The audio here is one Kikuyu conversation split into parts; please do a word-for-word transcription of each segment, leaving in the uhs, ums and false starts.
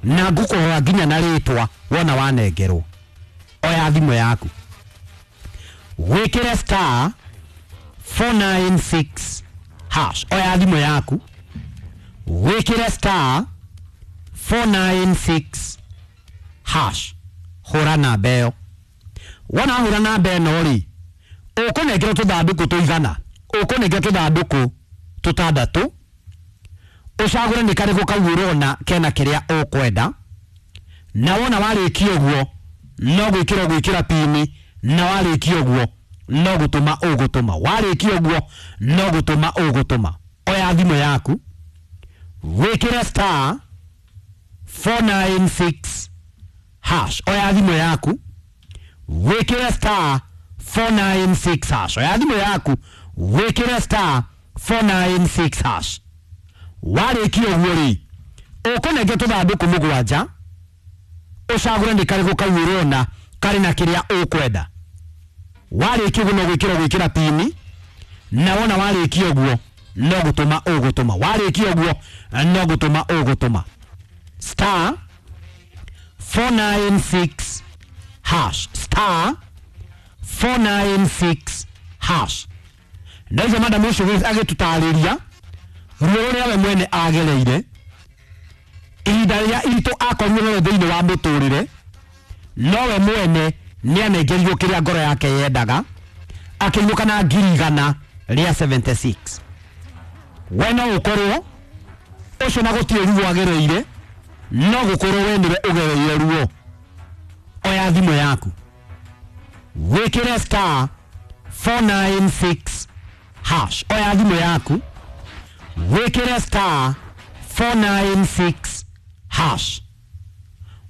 Na ngũkũhoya nginya na rĩtwa wona wanengerwo. Oya thimũ yaku, wĩkĩre star four nine six hash. Oya thimũ yaku, wĩkĩre star four nine six hash. Hũra namba ĩyo. Wona hũra namba ĩno rĩ, ũkũnengerwo tũthandũkũ tũigana? Ũkũnengerwo tũthandũkũ tũtandatũ. Ũcagũre nĩ karĩkũ kau ũrona kena kĩrĩa ũkwenda. Na wona warĩkia ũguo, no gwĩkĩra gwĩkĩra pini, na warĩkia ũguo no gũtũma ũgũtũma. Warĩkia ũguo no gũtũma ũgũtũma. Oya thimũ yaku, wĩkĩre star four nine six hash. Oya thimũ yaku, wĩkĩre star four nine six hash. Oya thimũ yaku, wĩkĩre star four nine six hash. Warĩkia ũguo rĩ, ũkũnengera tũthandũkũ mũgwanja. Ũcagũre nĩ karĩkũ kau ũrona karĩ na kĩrĩa ũkwenda. Warĩkia ũguo no gwĩkĩra gwĩkĩra pini, na wona warĩkia ũguo no gũtũma ũgũtũma. Warĩkia ũguo no gũtũma ũgũtũma. Star four nine six hash, star four nine six hash. Na icio madam ũcio agĩtũtarĩria ruo rũrĩa we mwene agereire, ihinda rĩrĩa iritũ akorirwo narĩo thĩinĩ wa mũtũrĩre, nowe mwene nĩ anengerirwo kĩrĩa ngoro yake yendaga, akĩinũka na ngiri igana rĩa mĩrongo mũgwanja na ithathatũ. We no ũkorwo ũcio na gũtirĩ ruo agereire, no gũkorwo we nĩwe ũgereire ruo. Oya thimũ yaku, wĩkĩre star four nine six hash. Oya thimũ yaku, wĩkĩre star four nine six hash.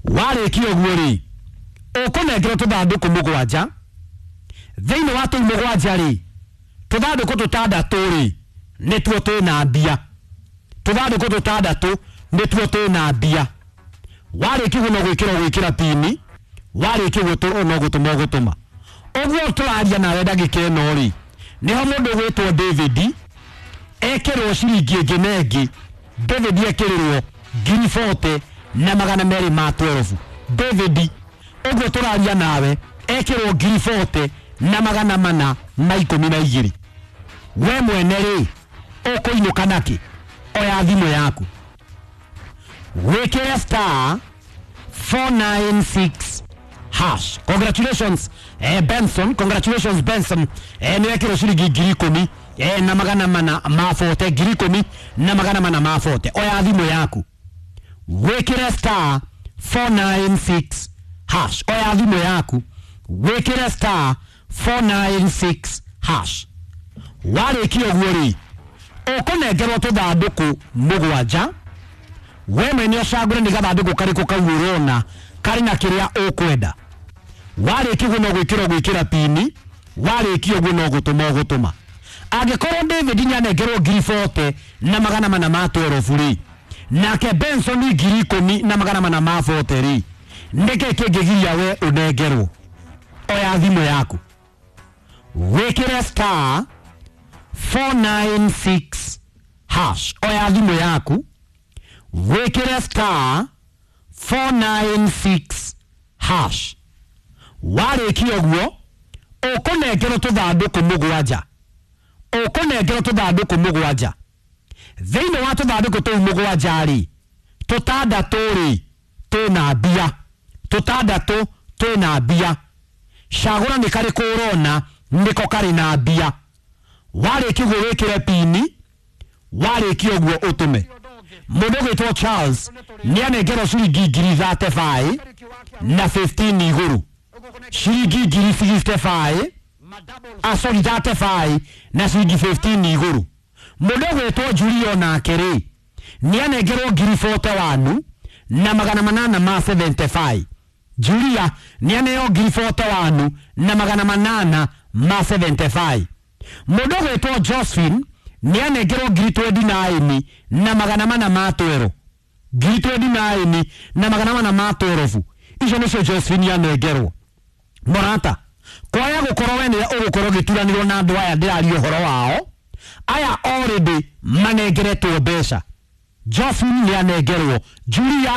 Warĩkia ũguo rĩ, ũkũnengerwo tũthandũkũ mũgwanja. Thĩinĩ wa tũu mũgwanja rĩ, tũthandũkũ tũtandatũ rĩ, nĩtuo twĩna mbia. Tũthandũkũ tũtandatũ nĩtuo twĩna mbia. Warĩkia ũguo no gwĩkĩra gwĩkĩra pini. Warĩkia ũguo no gũtũma ũgũtũma. Ũguo tũraria nawe ndagĩka ĩno rĩ, nĩho mũndũ ũgwĩtwo David ekĩrwo ciringi ĩngĩ na ĩngĩ. David ekĩrĩrwo ngiri mĩrongo ĩna na magana merĩ ma ikũmi na igĩrĩ. David ũguo tũraria nawe ekĩrwo ngiri mĩrongo ĩna na magana mana ma ikũmi na igĩrĩ. We mwene rĩ, ũkũinũka nakĩ? Oya thimũ yaku, wĩkĩre star four nine six hash. Congratulations, eh, Benson. Congratulations, Benson. eh, nĩ wekĩrwo ciringi ngiri ikũmi eh, na magana mana ma mĩrongo ĩna. Ngiri ikũmi na magana mana ma mĩrongo ĩna. Oya thimũ yaku, wĩkĩre star four nine six hash. Oya thimũ yaku, wĩkĩre star four nine six hash. Warĩkia ũguo rĩ, ũkũnengerwo tũthandũkũ mũgwanja. We mwene ũcagũre nĩ gathandũkũ karĩkũ kau ũrona karĩ na kĩrĩa ũkwenda. Warĩkia ũguo no gwĩkĩra gwĩkĩra pini. Warĩkia ũguo no gũtũma ũgũtũma. Angĩkorwo David nĩanengerwo ngiri mĩrongo ĩna na magana mana ma ikũmi na igĩrĩ rĩ, nake Benson ngiri ikũmi na magana mana ma mĩrongo ĩna rĩ, nĩkĩ kĩngĩgiria we ũnengerwo? Oya thimũ yaku, wĩkĩre star four nine six hash. Oya thimũ yaku, wĩkĩre star four nine six hash. Warĩkia ũguo ũkũnengerwo tũthandũkũ mũgwanja. Ũkũnengerwo tũthandũkũ mũgwanja. Thĩinĩ wa tũthandũkũ tũu mũgwanja rĩ, tũtandatũ rĩ, twĩna mbia. Tũtandatũ twĩna mbia. Cagũra nĩ karĩkũ ũrona nĩko karĩ na mbia. Warĩkia ũguo wĩkĩre pini. Warĩkia ũguo ũtũme. Mũndũ ũgwĩtwo Charles nĩ anengerwo ciringi ngiri thirty-five na fifteen igũrũ. Ciringi ngiri sixty-five, ah, sorry, thirty-five na ciringi fifteen igũrũ. Mũndũ ũgwĩtwo Julio nake rĩ, nĩ anengerwo ngiri mĩrongo ĩna na ĩmwe na magana manana ma mĩrongo mũgwanja na ithano. Julia nĩ aneo ngiri mĩrongo ĩna na ĩmwe na magana manana ma mĩrongo mũgwanja na ithano. Mũndũ ũgwĩtwo Josephine nĩ anengerwo ngiri mĩrongo ĩrĩ na inya na magana mana ma ikũmi na igĩrĩ. Ngiri mĩrongo ĩrĩ na inya na magana mana ma ikũmi na igĩrĩ, icio nĩcio Josephine anengerwo. Mũrata, kwaya gũkorwo we nĩwe ũgũkorwo ũgĩturanĩrwo na andũ aya ndĩraria ũhoro wao, aya already manengeretwo mbeca. Josephine nĩ anengerwo, Julia.